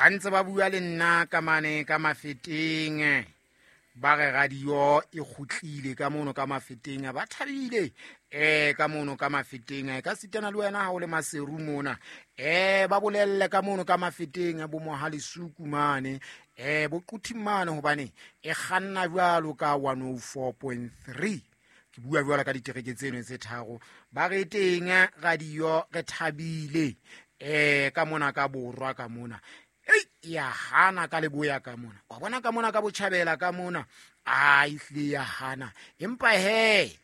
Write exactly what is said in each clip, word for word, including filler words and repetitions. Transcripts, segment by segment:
Ba ntse ba bua le nna ka mane ka Mafeteng, ba re radio e kgutlile ka mono ka Mafeteng, ba thabile eh ka mono ka Mafeteng. Ka sitana le wena ha o le Maseru mona, eh ba bolelle ka mono ka Mafeteng bo Mohalesuku mane, eh bo Quthing mane, hobane e kganna jwalo ka one oh four point three. Ke bua jwalo ka ditereke tseno tse tharo. Ba re teng radio re thabile eh ka mona ka borwa ka mona. Ei, ya hana ka leboya ka mona, wa bona ka mona ka botjhabela ka mona, a ehlile ya hana. Empa he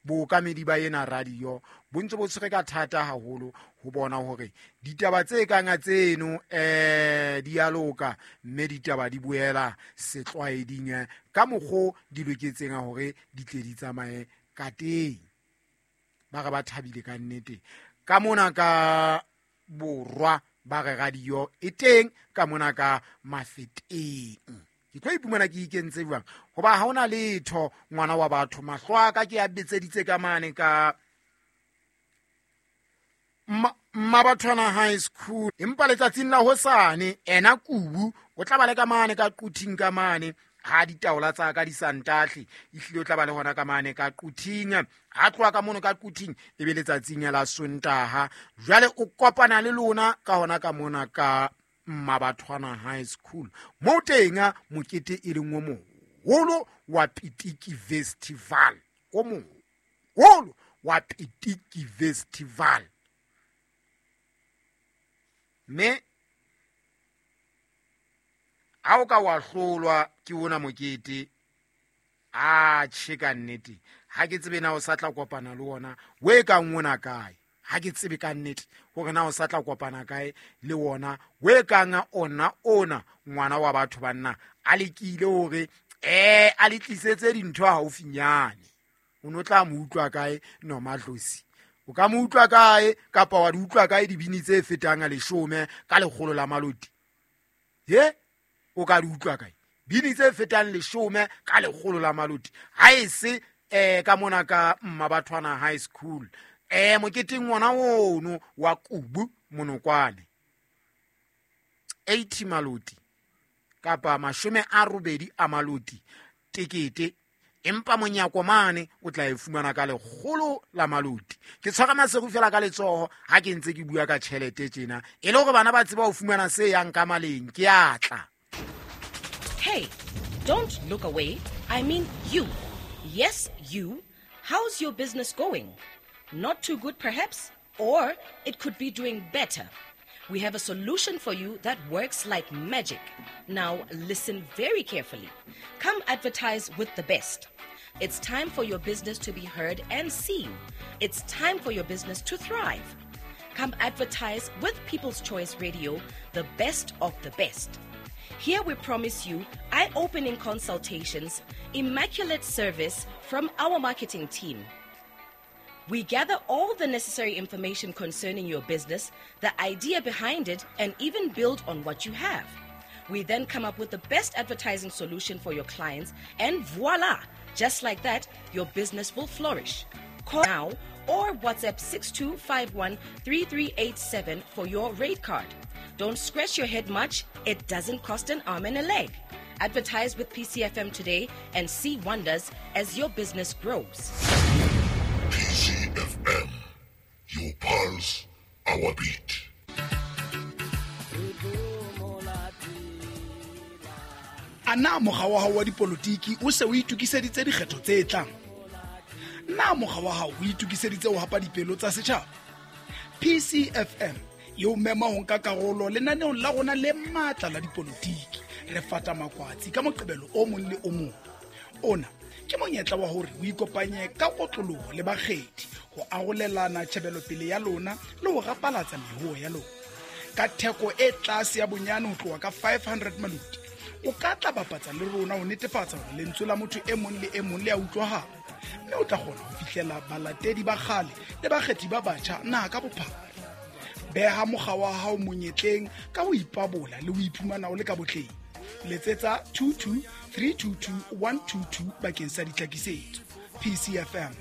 bookamedi ba ena radio bo ntse bo tshwere ka thata haholo ho bona hore ditaba tse kang tseno eh di a loka, mme ditaba di boela setlwaeding ka mokgo di loketseng hore di tle di tsamaye ka teng. Ba re ba thabile ka nnete ka mona ka borwa, ba re radio e teng ka mona ka Mafeteng. Ke tlo iphumana ke ikentse jwang, hoba ha hona letho ngwana wa batho, mahlo a ka ke a betseditse ka mane ka Mmabathwana High School. Empa letsatsing la hosane ena Kubu o tla ba le ka mane ka Quthing ka mane, ha ditaola tsa ka di sa ntahle, ehlile o tla ba le hona ka mane ka Quthing. Ha tloha ka mono ka Quthing e be letsatsing la Sontaha, jwale o kopana le lona ka hona ka mona ka Mmabathwana High School, moo teng mokete e leng o moholo wa Pitiki Festival, o moholo wa Pitiki Festival. Mme ha o ka wa hlolwa ke ona mokete, a tjhe ka nnete ha ke tsebe na o sa tla kopana le ona o e kang ona kae. Ha ke tsebe ka nnete hore na o sa tla kopana kae le ona o e kang ona ona ngwana wa batho banna a lekile hore eh a le tlisetse dintho haufinyane. O no tla mo utlwa kae Nomadlozi? O ka mo utlwa kae kapa wa di utlwa kae dibini tse fetang a leshome ka lekgolo la maloti? He, o ka di utlwa kae bini tse fetang leshome ka lekgolo la maloti? Ha e se eh ka mona ka Mmabathwana High School, eh moketeng wona ono wa Kubu Monokwane, eighty maloti kapa mashome a robedi a maloti tekete, empa monyako mane o tla e fumana ka lekgolo la maloti. Ke tshwara Maseru fela ka letsoho ha ke ntse ke bua ka tjhelete tjena, e le hore bana ba tseba ho fumana se yang ka maleng. Ke a tla. Hey, don't look away. I mean you. Yes, you. How's your business going? Not too good perhaps, or it could be doing better. We have a solution for you that works like magic. Now listen very carefully. Come advertise with the best. It's time for your business to be heard and seen. It's time for your business to thrive. Come advertise with People's Choice Radio, the best of the best. Here we promise you eye-opening consultations, immaculate service from our marketing team. We gather all the necessary information concerning your business, the idea behind it, and even build on what you have. We then come up with the best advertising solution for your clients, and voila! Just like that, your business will flourish. Call now or WhatsApp six two five one three three eight seven for your rate card. Don't scratch your head much. It doesn't cost an arm and a leg. Advertise with P C F M today and see wonders as your business grows. P C F M, your pulse, our beat. Ana mokga wa hao wa dipolotiki o se o itokiseditse dikgetho tse tlang? Na mokga wa hao o itokiseditse ho hapa dipelo tsa setjhaba? P C F M e o mema ho nka karolo lenaneong la rona le matla la dipolotiki. Re fata makwatsi ka Moqebelo o mong le o mong. Ona ke monyetla wa hore o ikopanye ka kotloloho le bakgethi ho arolelana tjhebelopele ya lona le ho rapalatsa mehoo ya lona. Ka theko e tlase ya bonyane ho tloha ka five hundred maloti, o ka tla bapatsa le rona ho netefatsa hore lentswe la motho e mong le e mong le a utlwahala, mme o tla kgona ho fihlela balatedi ba kgale le bakgethi ba batjha naha ka bophara. Beha mokga wa hao monyetleng ka ho ipabola le ho iphumana o le ka botleng. Letsetsa two two three two two one two two bakeng sa ditlhakisetso. P C F M,